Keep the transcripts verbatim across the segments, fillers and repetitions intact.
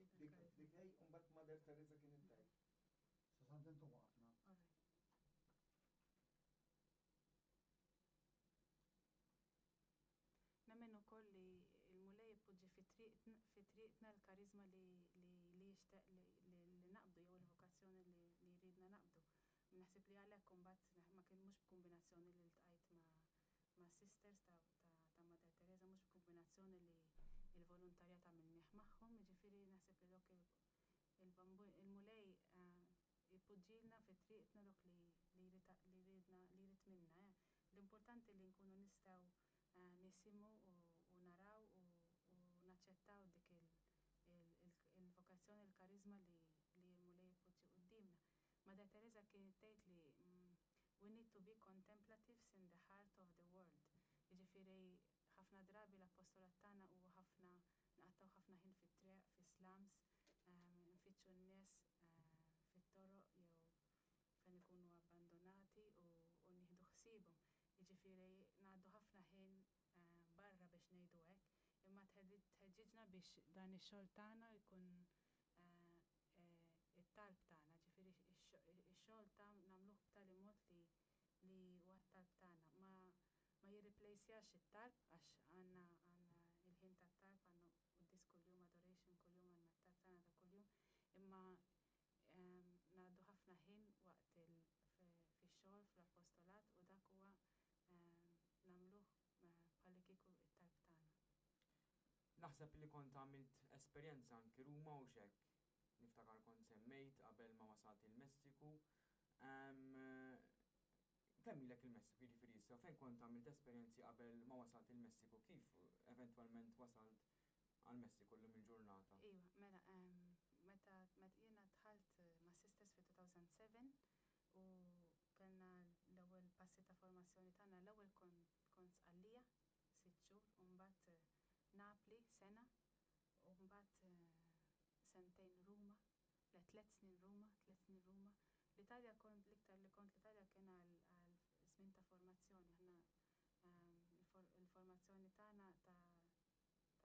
Dik dik hej, u mbagħad Mother Teresa kienet tgħid. Sa Sant'Anton waqafna. All right. Nemmen ukoll li l-Mulej ipoġġi fi triqtna l-karizma li li jixtieq li naqbdu jew il-vokazzjoni li jridna naqbdu. Naħseb li għalhekk imbagħad ma kien mhux b'kombinazzjoni li ltqajt ma' sisters ta' Mother Teresa, mhux b'kombinazzjoni li l-volontarjat għamilnieh magħhom, jiġifieri naħseb li dawk il-Mulej ipoġġilna fi triqtna dawk li jridna li jrid minna. L-importanti li nkunu nistgħu nisimgħu u naraw u naċċettaw dik il-vokazzjoni, il-karizma li l-Mulej ipoġġi quddiemna. Mother Teresa kienet tgħid li we need to be contemplatives in the heart of the world. Jiġifieri ħafna drabi l-apostolat tagħna huwa ħafna nqattgħu ħafna ħin fit-triq, fi-slums, nfittxu n-nies fit-toroq jew fejn ikunu abbandonati u nieħdu ħsiebhom. Jiġifieri ngħaddu ħafna ħin barra biex ngħidu hekk, imma tħeġġiġna biex dan ix-xogħol tagħna jkun it-talb tagħna, ġifieri ix-xogħol ta' nagħmluh b'tali mod li li huwa t-talb tagħna. Ma ma jirreplejsjax it-talb għax għandna għandna il-ħin tat-talb, għandna quddies kuljum, adoration kuljum, għandna t-talb tagħna ta' kuljum, imma ngħaddu ħafna ħin waqt fix-xogħol fl-apostolat u dak huwa nagħmluh bħalli kieku it-talb tagħna. Naħseb li kont għamilt esperjenza anki Ruma u xek. Niftakar kont semmejt qabel ma wasalt il-Messiku. Kemm ilek il-Messiku, jiġifieri issa, fejn kont għamilt esperjenzi qabel ma wasalt il-Messiku, kif eventwalment wasalt għal-Messiku llum il-ġurnata? Iva, mela, meta meta jiena dħalt ma' Sisters fi two thousand seven u kellna l-ewwel passi ta' formazzjoni tagħna, l-ewwel kont Sqallija sitt xhur u mbagħad Napli sena u mbagħad sentejn Ruma, le, tliet snin Ruma, tliet snin Ruma. L-Italja kont l-iktar li kont l-Italja kien għal żmien ta' formazzjoni. Aħna il-formazzjoni tagħna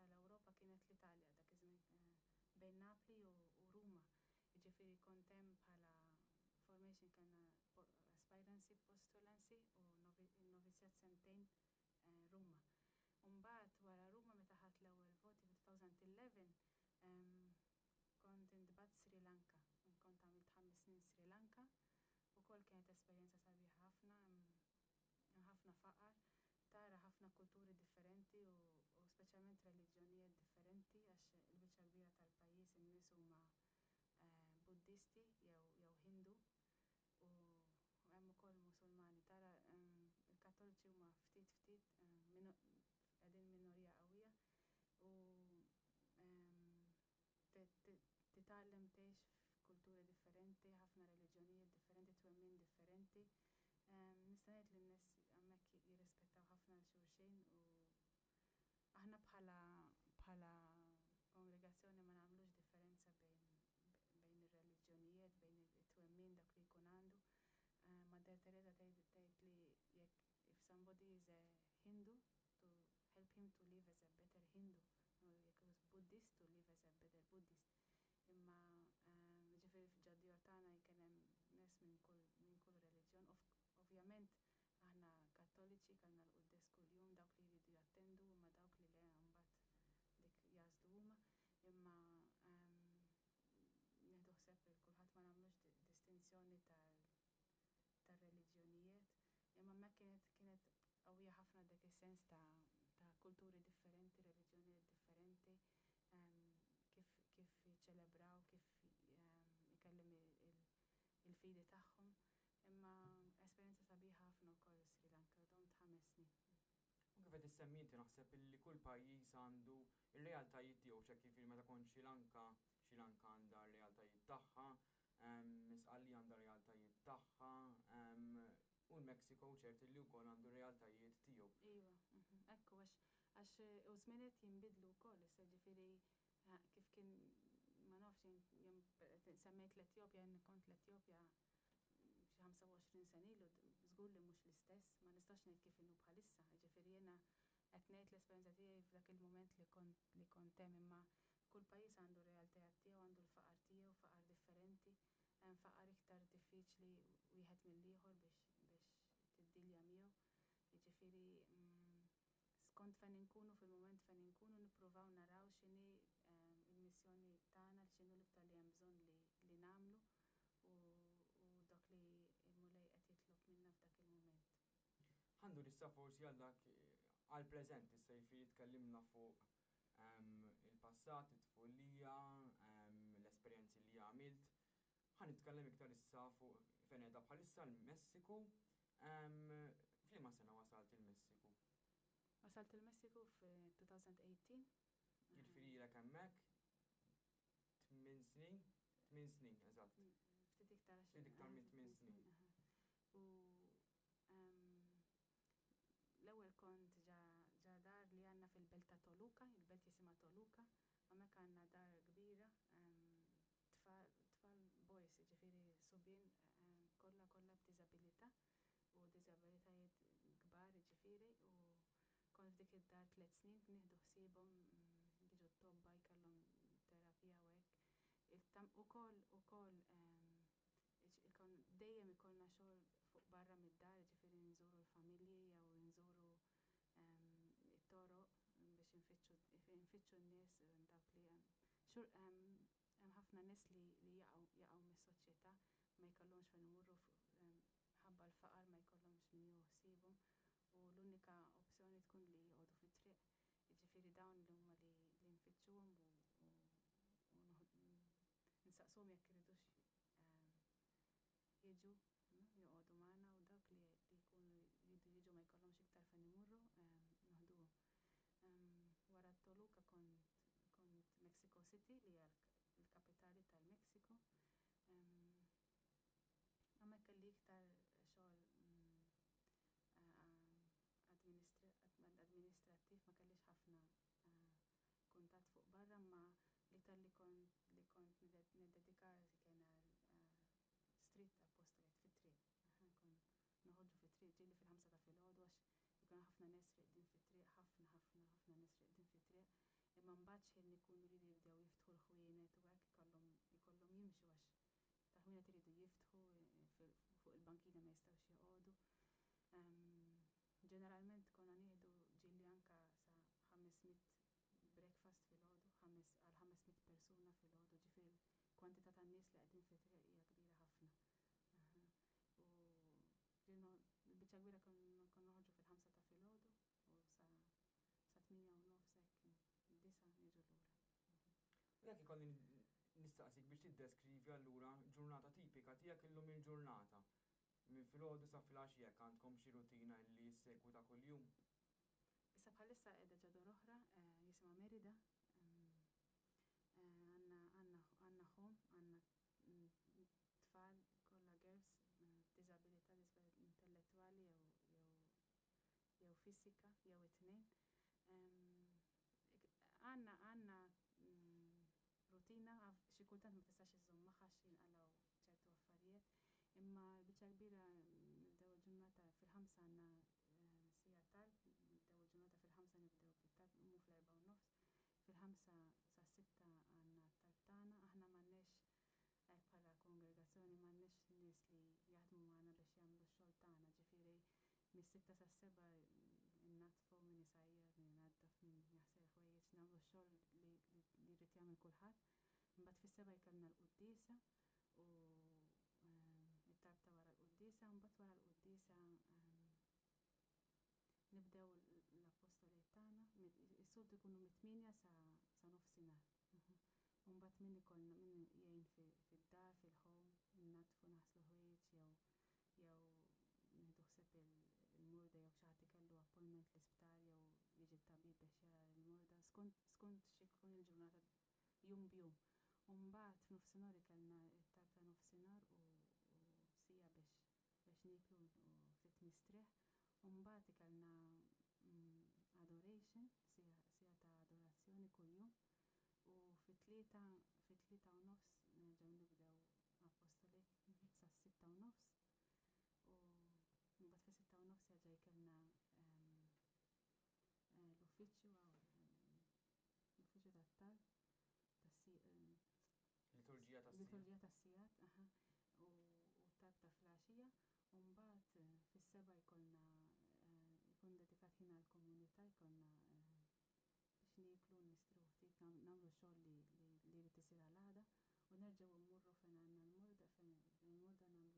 tal-Ewropa kienet l-Italja dak iż-żmien bejn Napli u Ruma. Jiġifieri kont hemm bħala formation, kellna aspirancy, postulancy u novizjat sentejn Ruma. Mbagħad wara Ruma, meta ħadt l-ewwel voti fi elfejn u ħdax, kont intbgħatt Sri Lanka. Kont għamilt ħames snin Sri Lanka u kol kienet esperjenza sabiħa ħafna, ħafna faqar, tara ħafna kulturi differenti u, u speċjalment reliġjonijiet differenti, għax il-biċċa kbira tal-pajjiż in-nies huma eh, Buddisti jew jew Hindu u hemm ukoll Musulmani. Tara il-Kattoliċi huma ftit ftit, qegħdin minorija qawwija u titgħallem tgħix f'kulturi differenti, ħafna reliġjonijiet differenti, twemmin differenti. Nista' ngħid li n-nies hemmhekk jirrispettaw ħafna lil xulxin u aħna bħala bħala kongregazzjoni ma nagħmlux differenza bejn bejn ir-reliġjonijiet, bejn it-twemmin dak li jkun għandu. Mother Teresa tgħid li jekk if somebody is a Hindu, to help him to live as a better Hindu, u jekk is Buddhist, to live as a better Buddhist. Imma ġifieri f'ġad-djor tagħna kien hemm nies minn kull minn kull reliġjon. Ovvjament aħna Kattoliċi kellna l-quddies kuljum, dawk li jridu jattendu, imma dawk li le mbagħad dik jagħżlu huma. Imma nieħdu ħsieb il kulħadd, ma nagħmlux distinzjoni tar-reliġjonijiet. Imma hemmhekk kienet kienet qawwija ħafna dak is-sens ta' ta' kulturi differenti, reliġjonijiet differenti, kif kif jiċċelebraw, kif ikellem il-fidi tagħhom. Imma esperjenza sabiħa ħafna wkoll Sri Lanka, domt ħames snin. U kif qed issemmi inti, naħseb illi kull pajjiż għandu ir-realtajiet tiegħu, ċek kif meta kont Sri Lanka, Sri Lanka għandha r-realtajiet tagħha, Sqallija għandha realtajiet tagħha, u l-Mexico ċert li wkoll għandu realtajiet tiegħu. Iva, mhm, ekku, għax għax u żminiet jinbidlu wkoll, issa ġifieri kif kien, ma nafx, jien semmejt l-Etjopja, jien kont l-Etjopja xi ħamsa u għoxrin sena ilu, żgur li mhux l-istess, ma nistax ngħid kif inhu bħalissa, ġifieri jiena qed ngħid l-esperjenza tiegħi f'dak il-mument li kont li kont hemm, imma Kull pajjiż għandu realtajiet tiegħu, għandu l-faqar tiegħu, faqar differenti, hemm faqar iktar diffiċli wieħed mill-ieħor biex biex tiddilja miegħu. Jiġifieri mm, skont fejn inkunu fil-mument fejn inkunu nippruvaw naraw x'inhi ehm, il-missjoni tagħna, x'inhu l-iktar li hemm bżonn li, li nagħmlu u, u dak li l-Mulej qed jitlob minna f'dak il-mument. Ħa ndur issa forsi għal dak għal-preżent, issa jiġifieri tkellimna fuq ehm, il-passat, it-tfulija, ehm, l-esperjenzi li għamilt. Ħa nitkellem iktar issa fuq fejn qiegħda bħalissa l-Messiku. Ehm, F'liema sena wasalt il-Messiku? Wasalt il-Messiku f-elfejn u tmintax. Jiġifieri ilek hemmhekk tmien snin, tmien snin, eżatt. Ftit iktar għax- Ftit iktar minn tmien snin. Aha. U ehm, l-ewwel kont ġa ġa dar li għandna fil-belt ta' Toluca, il-belt jisimha Toluca, hemmhekk għandna dar kbira, ehm, tfal tfal boys, jiġifieri subien ehm, kollha kollha b'diżabilità u diżabilitajiet kbar jiġifieri u kont f'dik id-dar tliet snin nieħdu ħsiebhom mm, jiġu t-tobba jkollhom terapija u hekk. Il-tam ukoll ukoll ehm, ikon dejjem ikollna xogħol fuq barra mid-dar, jiġifieri nżuru l-familji jew nżuru ehm, it-toroq biex infittxu nfittxu n-nies dawk li hemm xur hemm hemm ħafna nies li li jaqgħu jaqgħu mis-soċjetà ma jkollhomx fejn imorru ħabba l-faqar ma jkollhomx min jieħu ħsiebhom u l-unika opzjoni tkun li joqogħdu fit-triq. Jiġifieri dawn li huma li li nfittxuhom u u u nsaqsuhom jekk iridux ehm, jiġu joqogħdu magħna u dawk li li jkunu jridu jiġu ma jkollhomx iktar fejn imorru ehm, noħduhom. Ehm, wara Toluca kont kont Mexico City li hija l-kapitali tal-Messiku. Hemmhekk kelli iktar xogħol mm, amministrattiv ma kellix ħafna kuntatt fuq barra ma l-iktar li kont li kont niddedika kien għal street apostolate fit-triq. Kont noħorġu fit-triq ġieli fil-ħamsa ta' filgħodu għax ikun ħafna nies reqdin fit-triq, ħafna ħafna ħafna nies reqdin fit-triq. Imma mbagħad xejn ikunu jridu jibdew jiftħu l-ħwienet u hekk ikollhom ikollhom jimxu għax tal-ħwienet iridu jiftħu fuq il-bankina ma jistgħux joqogħdu. Ġeneralment konna nieħdu ġieli anka sa ħames mitt breakfast filgħodu, ħames għal ħames mitt persuna filgħodu, ġifieri kwantità ta' nies li qegħdin fit-triq hija kbira ħafna. U l-biċċa kbira konna noħorġu fil-ħamsa ta' filgħodu u sa sa tmienja u nofs hekk disgħa niġu lura. U jekk ikolli nistaqsik biex tiddeskrivi allura ġurnata tipika tiegħek illum il-ġurnata. Minn filgħodu sa filgħaxija jekk għandkom xi rutina li ssegwu ta' kuljum. Issa bħalissa qiegħda ġo dar oħra jisimha Merida. Għandna għandna għandna home, għandna tfal kollha girls b'diżabilità intellettwali jew jew jew fisika jew it-tnejn. Għandna għandna rutina xi kultant ma tistax iżżomm magħha għax jinqalgħu ċertu affarijiet, imma l-biċċa kbira nibdew il-ġurnata fil-ħamsa għandna siegħa talb, nibdew il-ġurnata fil-ħamsa nibdew bit-talb, nqumu fl-erbgħa u nofs. Fil-ħamsa sa sitta għandna t-talb tagħna, aħna m'għandniex hekk bħala kongregazzjoni m'għandniex nies li jaħdmu magħna biex jagħmlu x-xogħol tagħna, ġifieri mis-sitta sas-sebgħa innaddfu min isajjar, min inaddaf, min jaħsel ħwejjeġ, nagħmlu x-xogħol li li jrid jagħmel kulħadd. Imbagħad fis-sebgħa jkollna l-quddiesa u it-talb ta' wara l-quddiesa, u mbagħad wara l-quddiesa nibdew l-apostolate tagħna, is-soltu jkunu mit-tmienja sa sa nofsinhar. U mbagħad min ikollna min jgħin fid-dar, fil-home, innaddfu naħslu ħwejjeġ jew jew nieħdu ħsieb il-morda jew xi ħadd ikellu appointment l-isptar jew jiġi t-tabib biex jara l-morda, skont skont x'ikun il-ġurnata jum b'jum. U mbagħad f'nofsinhar ikollna t-talb ta' nofsinhar u siegħa biex biex nieklu u ftit mistrieħ. U mbagħad ikollna adoration, siegħa siegħa ta' adorazzjoni kuljum. U fit-tlieta fit-tlieta u nofs nerġgħu nibdew apostolate sas-sitta u nofs. U mbagħad fis-sitta u nofs jerġa' jkollna l-uffiċċju l-uffiċċju tat-talb. Liturġija tas-sigħat, aha, u u talb ta' filgħaxija, u mbagħad eh, fis-sebgħa jkollna eh, jkun dedikat ħin għall-komunità, jkollna eh, biex nieklu, nistrieħu ftit, nam- nagħmlu xogħol li li li jrid isir għal għada u nerġgħu mmorru fejn għandna l-morda, fejn il-morda nagħmlu,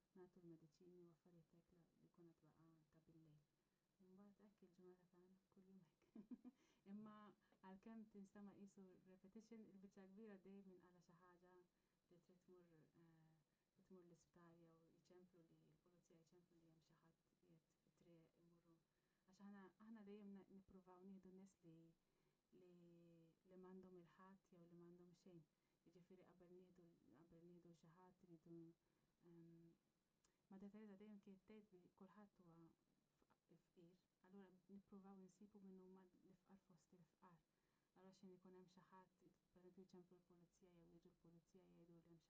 nagħtu l-mediċini u affarijiet hekk li jkun għad baqa' ta' bil-lejl. Mbagħad hekk il-ġurnata tagħna kuljum hekk. Imma għalkemm tinstama' qisu repetition, il-biċċa kbira dejjem minqala xi ħaġa li trid tmur eh, trid tmur l-isptar jew jċemplu li l-pulizija, jċemplu li hemm xi ħadd qiegħed fit-triq, imorru. Għax aħna aħna dejjem na- nippruvaw nieħdu nies li li li m'għandhom il-ħadd jew li m'għandhom xejn. Jiġifieri qabel nieħdu qabel nieħdu xi ħadd iridu ehm, Madre Teresa dejjem kienet tgħid li kulħadd huwa f- fqir, allura nippruvaw insibu min huma l-ifqar fost il-fqar. Allura xejn ikun hemm xi ħadd, pereżempju jċemplu l-pulizija jew jiġu l-pulizija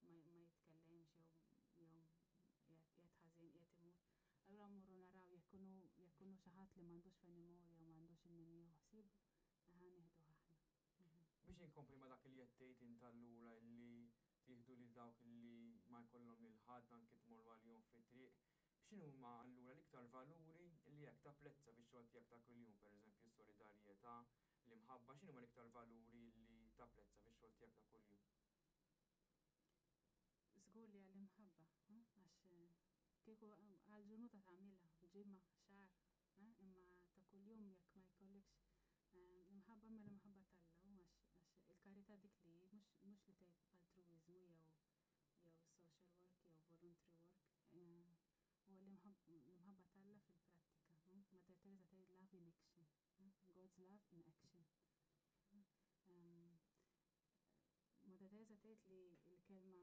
jgħidu li hemm xi ħadd qiegħed fit-triq ma ma jitkellemx jew jew qiegħed qiegħed ħażin, qiegħed imut. Allura mmorru naraw jekk ikunu jekk ikunu xi ħadd li m'għandux fejn imur jew m'għandux il min jieħu ħsiebu, aħna nieħduh aħna. Mhm. Biex inkompli ma dak li qed tgħid int allura, li tieħdu lil dawk li ma jkollhom lil ħadd, anke tmorru għalihom fit-triq. X'inhuma allura l-iktar valuri li jekk tapprezza fix-xogħol tiegħek ta' kuljum, pereżempju s-solidarjetà, l-imħabba, x'inhuma l-iktar valuri li tapprezza fix-xogħol tiegħek ta' kuljum? Żgur li għall-imħabba, hm? Għax eh, kieku għal-ġurnata tagħmilha, ġimgħa, xahar, eh? Imma ta' kuljum jekk ma jkollekx eh, l-imħabba, ma l-imħabba t'Alla, u għax għax il-karità dik li mhux mhux li tgħid altruiżmu jew jew social work jew voluntary work, eh, huwa l-imħab- l-imħabba t'Alla fil-prattika. hm? Mother Teresa tgħid "love in action", hm? God's love in action. hm? Em, Mother Teresa tgħid li l-kelma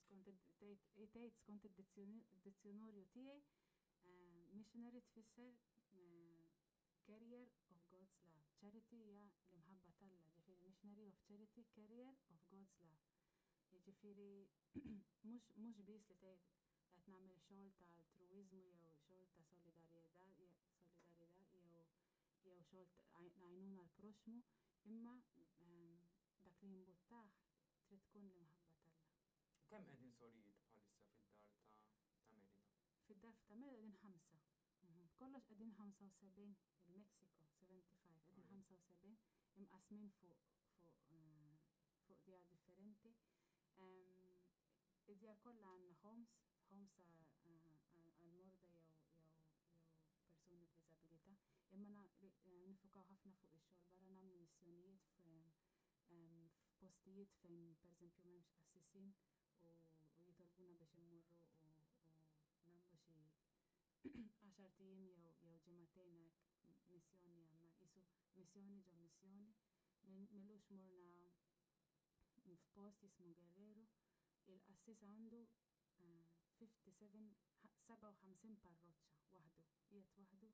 skont id- tgħid tgħid skont id-dizzjonarju tiegħi eh, missionary tfisser eh, carrier of God's love. Charity hija l-imħabba t'Alla, ġifieri missionary of charity, carrier of God's love. Jiġifieri mhux mhux biss li tgħid qed nagħmel xogħol ta' altruiżmu jew xogħol ta' solidarjetà solidarjetà jew jew xogħol ta' għajnuna l-proxmu, imma ehm, dak li jimbuttah trid tkun l-imħabba t'Alla. Kemm qegħdin sorijiet bħalissa fid-dar ta' ta' Merida? Fid-dar ta' Merida qegħdin ħamsa. Mhm. Kollox qegħdin ħamsa u sebgħin, il-Mexico sebgħa u ħamsin, qegħdin Alright. ħamsa u sebgħin imqasmin fuq fuq eh, fuq djar differenti. Em, Id-djar kollha għandna homes, homes għal-morda jew jew jew persuni b'diżabilità, imma na- li- eh, nifukaw ħafna fuq ix-xogħol barra, nagħmlu missjonijiet f- em, f'postijiet fejn pereżempju m'hemmx qassisin u, u jitolbuna biex immorru u, u nagħmlu xi għaxart ijiem jew jew ġimagħtejn hekk missjoni hemmhekk, qisu missjoni ġo missjoni. Mil- M'ilux morna f'post jismu Guerrero, il-qassis għandu eh, ħamsa u sebgħin, sebgħa u ħamsin parroċċa waħdu, qiegħed waħdu,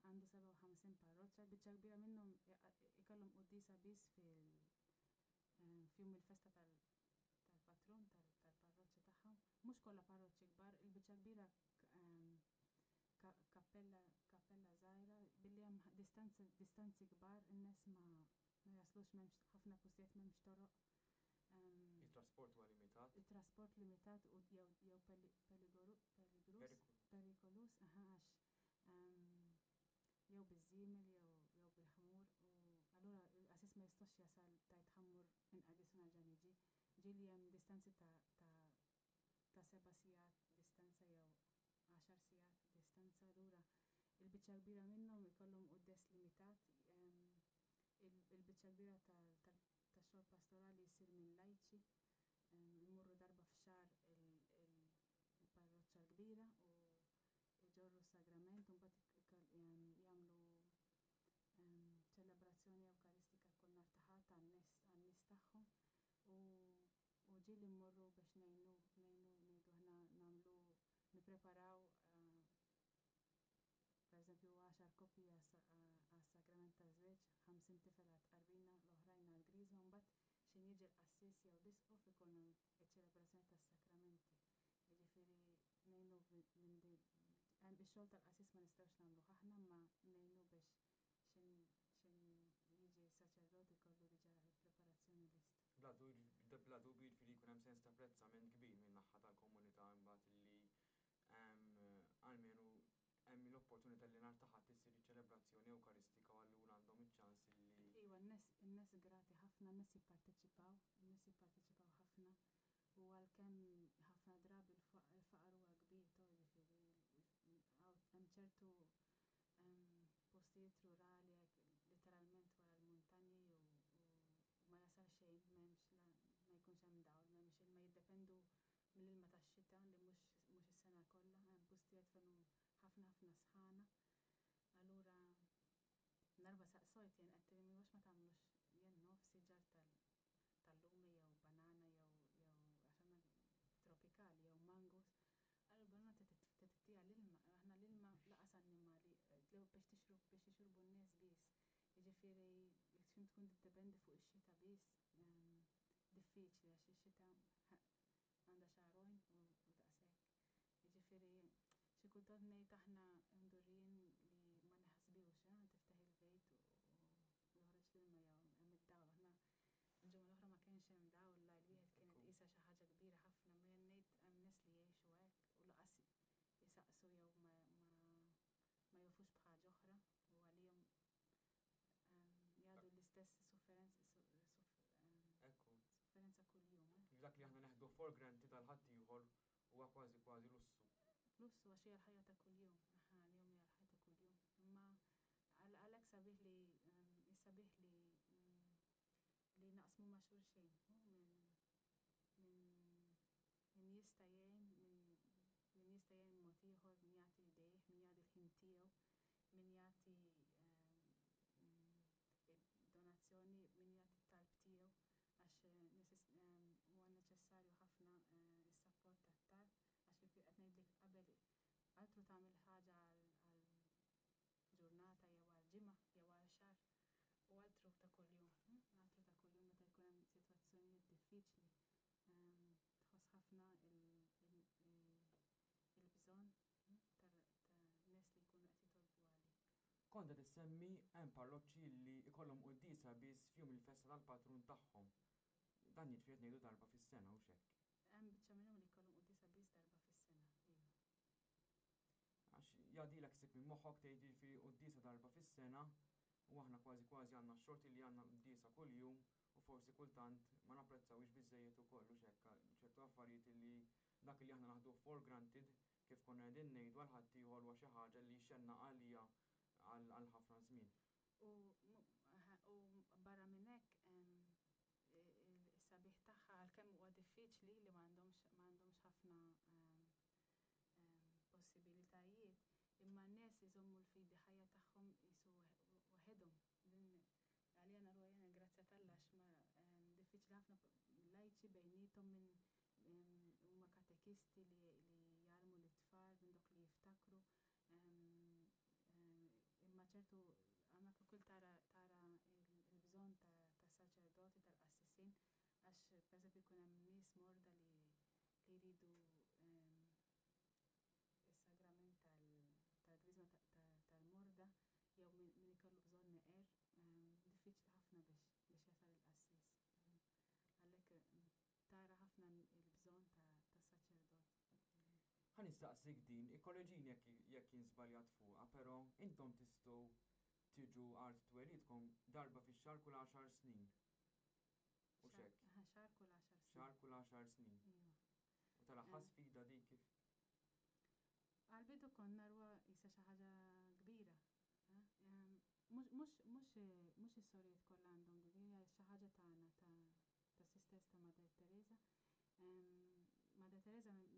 għandu sebgħa u ħamsin parroċċa, biċċa kbira minnhom ikollhom quddiesa biss fil eh, f'jum il-festa tal- tal-patrun tal-parroċċa tagħhom. Mhux kollha parroċċi kbar, il-biċċa kbira ehm, ka- kappella kappella żgħira, billi hemm distanzi distanzi kbar, in-nies ma ma jaslux, m'hemmx ħafna postijiet, m'hemmx toroq. Ehm, Il-trasport huwa limitat. Il-trasport limitat u jew jew peli- peligoru- peligrus Perikolu. Perikolus, aha, għax ehm, jew biż-żiemel jew jew bil-ħmur, u allura il-qassis ma jistax jasal tajt ħa mmur inqaddes u nerġa' niġi. Ġieli hemm distanzi ta' ta' ta' seba' sigħat distanza jew għaxar sigħat distanza, allura il-biċċa kbira minnhom ikollhom quddies limitat. ehm, il- Il-biċċa kbira tal- tal- tax-xogħol pastorali jsir minn lajċi, ehm, imorru darba f'xahar il- il- il-parroċċa l-kbira u iġorru sagrament u mbagħad ikoll- ehm, jagħmlu ehm, ċelebrazzjoni ewkaristika kull nhar ta' Ħadd għan-nies għan-nies tagħhom u u ġieli mmorru biex ngħinu ngħinu ngħidu aħna nagħmlu nippreparaw eh, pereżempju għaxar koppji għas-sagrament taż-żwieġ, ħamsin tifel għat-tqarbina, l-oħrajn għall-griżma, u mbagħad x'ħin jiġi l-qassis jew l-isqof ikun iċ-ċelebrazzjoni tas-sakramenti. Jiġifieri ngħinu minn di hemm ix-xogħol tal-qassis ma nistgħux nagħmluh aħna, imma ngħinu biex x'ħin x'ħin jiġi saċerdot ikollu diġà l-preparazzjoni lesta. Bla Bla dubju, jiġifieri jkun hemm sens ta' apprezzament kbir minn naħa tal-komunità imbagħad li almenu hemm l-opportunità li nhar ta' Ħadd issir iċ-ċelebrazzjoni Ewkaristika u allura għandhom iċ-ċans li. Iva, n-nies grati ħafna, n-nies jipparteċipaw, n-nies jipparteċipaw ħafna u għalkemm ħafna drabi l-faqar huwa kbir, to jiġifieri hemm ċertu postijiet rurali literalment wara l-muntanji u ma jasal xejn, m'hemmx, ma jkunx hemm dawl, m'hemmx ilma, jiddependu mill-ilma tax-xita li mhux mhux is-sena kollha, hemm postijiet fejn ħafna ħafna sħana. Allura darba saqsojt jien, qed għax ma tagħmlux jien naf siġar tal-lumi jew banana jew jew għax tropikali jew mangos. Għallu banana tittiha l-ilma, aħna l-ilma lanqas annimali biex tixrob biex jixorbu n-nies biss. Jiġifieri jekk tkun tiddependi fuq ix-xita biss, diffiċli għax ix-xita għandha xahrejn u daqshekk. Jiġifieri xi kultant ngħid aħna mdorrijin li ma naħsbux, tiftaħ il-vejt u joħroġ l-ilma jew hemm id-dawl. Aħna il-ġimgħa l-oħra ma kienx hemm dawl, lajl wieħed kienet qisha xi ħaġa kbira ħafna, ma jien ngħid hemm nies li jgħixu hekk u lanqas jisaqsu jew ma ma jafux b'ħaġa oħra u għalihom jgħaddu l-istess sofferenza sofferenza kuljum. Dak li aħna neħdu for granted għal ħaddieħor huwa kważi kważi lussu. Lussu għax hija l-ħajja ta' kuljum, għalihom hija l-ħajja ta' kuljum. Imma għalhekk sabiħ li sabiħ li li naqsmu ma' xulxin, min min jista' jgħin, min jista' jgħin mod ieħor, min jagħti idejh, min jagħti l-ħin tiegħu, min jagħti donazzjoni, min jagħti t-talb tiegħu, għax huwa neċessarju ħafna is-sapport tat-talb, għax kif qed ngħidlek qabel, altru tagħmel ħaġa għal ġurnata jew għal ġimgħa jew għal xahar u altru ta' kuljum, altru ta' kuljum meta jkun hemm sitwazzjonijiet diffiċli tħoss ħafna il-bżonn ta' nies li jkunu qed jitolbu għalik. Kont qed issemmi hemm parroċċi li jkollhom quddiesa biss f'jum il-festa tal-patrun tagħhom. Dan jiġifieri qed ngħidu darba fis-sena u hekk. Hemm biċċa minnhom li jkollhom quddiesa biss darba fis-sena, iva. Għax jgħaddilek sik minn moħħok tgħid jiġifieri quddiesa darba fis-sena u aħna kważi kważi għandna x-xorti li għandna quddiesa kuljum u forsi kultant ma napprezzawx biżejjed ukoll u hekk ċertu affarijiet li dak li aħna naħdu for granted, kif konna qegħdin ngħidu, għal ħaddieħor huwa xi ħaġa li xenna għalija għal ħafna żmien. U barra minn hekk, is-sabiħ tagħha, għalkemm huwa diffiċli li m'għandhomx m'għandhomx ħafna possibilitajiet, imma n-nies iżommu l-fidi ħajja tagħhom qisu waħedhom. Din għalija naruha jiena grazzja t'Alla għax ma diffiċli ħafna lajċi bejniethom minn huma katekisti li jgħallmu lit-tfal minn dok li jiftakru. Imma ċertu hemmhekk ukoll tara tara il-bżonn ta' saċerdoti, tal-qassisin, għax pereżempju jkun hemm nies morda li li jridu is-sagrament tal-griżma tal-morda jew min ikollu bżonn neqer, diffiċli ħafna biex biex jasal il-qassis. Għalhekk tara ħafna il-bżonn ta' saċerdot. Ħa nistaqsik din, ikkoreġini jekk jekk jien żbaljat fuqha, però intom tistgħu tiġu art twelidkom darba fix-xahar kull għaxar snin. U hekk. Xahar kull għaxar snin. Xahar kull għaxar snin. Iva. U tal-aħħar sfida dik kif? Għal-bidu konna narawha qisha xi ħaġa kbira. Mhux is-sorijiet kollha għandhom din, hija xi ħaġa tagħna ta' Sisters ta' Mother Teresa. Mother Teresa meta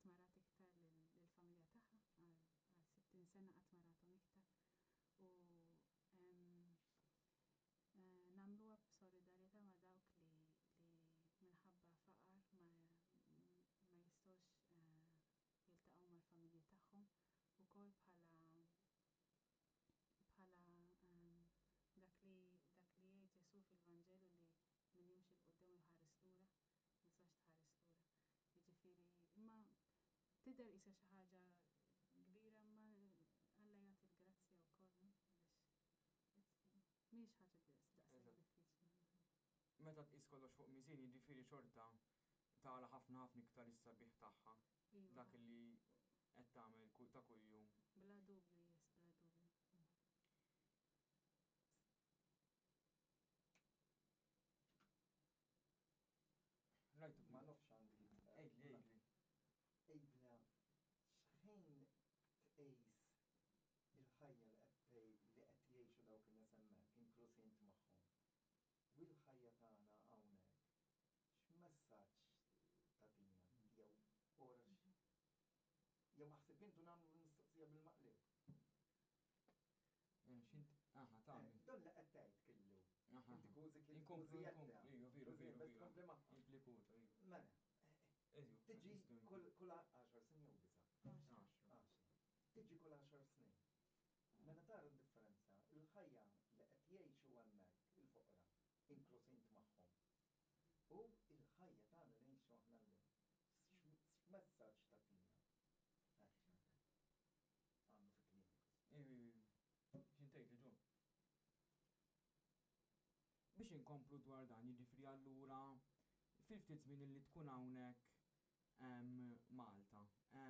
telqet qatt ma rat iktar lill-familja tagħha għal sittin sena, qatt ma rathom iktar. U nagħmluha b'solidarjetà ma' dawk li minħabba faqar ma jistgħux jiltaqgħu mal-familji tagħhom, ukoll bħala bħala dak li dak li jgħid Ġesù fil-Vanġelu li min jimxi 'l quddiem u jħares lura, ma tistax tħares lura. Jiġifieri imma tidher qisha xi ħaġa kbira, imma Alla jagħti l-grazzja wkoll biex mhix ħaġa daqshekk diffiċli. Meta tqis kollox fuq miżien, jiġifieri xorta tara ħafna ħafna iktar is-sabiħ tagħha. Iva. Dak li qed tagħmel kull ta' kuljum. Bla dubju, yes, bla dubju. Rajtu Ma nafx għandi. Ejli, ejli. Ejbna, xħin tqis il-ħajja li qed li qed jgħixu dawk in-nies hemmhekk, inkluż int magħhom, u l-ħajja tagħna hawnhekk, x'messaġġ tagħtina? Jew ora jew aħseb intu nagħmlu l-mistoqsija bil-maqlib. Xint, aha, tagħmel. Don li qed tgħid kellu. Aha. Inti kważi kien Inkomplu, kważi inkomplu, jedda. iju, veru, Kważi veru, bes veru. tkompli magħha. Implikuta, iju. Mela, Eżju, tiġi nistgħu kull kull għaxar snin jew disa'. Għaxra. Għaxra. Tiġi kull għaxar snin. Mela tara d-differenza, il-ħajja li qed jgħixu hemmhekk il-foqra, inkluż int magħhom. U il-ħajja tagħna li ngħixu aħna llum. X'messaġġ tagħtina? Għamlu fi kliemek. Iju, iju, iju. X'int tgħid li Ġon? Biex inkomplu dwar dan, jiġifieri allura fil-ftit żmien li tkun hawnhekk em, Malta. em,